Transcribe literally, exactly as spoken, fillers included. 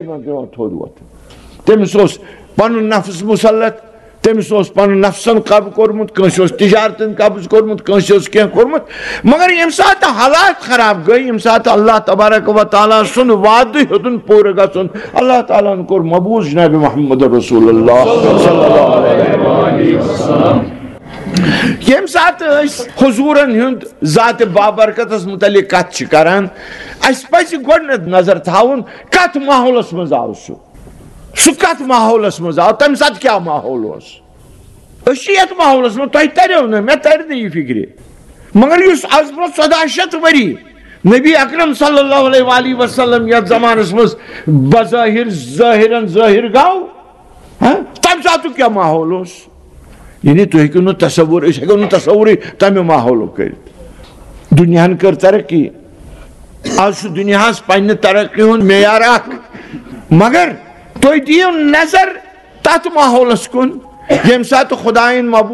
یِمن پٮ۪وان تھوٚد وۄتھُن۔ تٔمِس اوس پنُن نفس مسلط، تٔمِس اوس پنُن نفسن قبض کوٚرمُت، کٲنٛسہِ اوس تجارتن قبض کوٚرمُت، کٲنٛسہِ اوس کینٛہہ کوٚرمُت۔ مگر ییٚمہِ ساتہٕ حالات خراب گٔے، ییٚمہِ ساتہٕ اللہ تبارک و تعالیٰ سُنٛد وعدٕ ہیوٚتُن پوٗرٕ گژھُن، اللہ تعالیٰ ہن کوٚر مبوٗس جناب محمد رسول اللہ صلی اللہ علیہ وسلم۔ ییٚمہِ ساتہٕ أسۍ حضوٗرن ہُنٛد ذات بابرکتس متعلق کتھ چھِ کران، اسہِ پزِ گۄڈٕنیتھ نظر تھاوُن کتھ ماحولس منٛز آو سُہ۔ سُہ کتھ ماحولس منٛز آو؟ تمہِ ساتہٕ کیٛاہ ماحول اوس؟ أسۍ چھِ یتھ ماحولس منٛز، تۄہہِ تریو نہٕ، مےٚ ترِ نہٕ یہِ فکرِ۔ مگر یُس از برونٛہہ ژۄداہ شیٚتھ ؤری نبی اکرم صلی اللہ علیہ وآلہ وسلم یتھ زمانس منٛز بظاہر ظٲہرن ظٲہر گوٚو، ہاں، تمہِ ساتُک کیٛاہ ماحول اوس؟ یعنی تُہۍ ہیٚکِو نہٕ تصور، أسۍ ہیٚکو نہٕ تصورٕے تمہِ ماحولُک کٔرِتھ۔ دُنیاہن کٔر ترقی، از چھُ دُنیاہس پننہِ ترقی ہُنٛد معیار اکھ، مگر تُہۍ دِیِو نظر تتھ ماحولس کُن، ییٚمہِ ساتہٕ خدایَن مبوٗ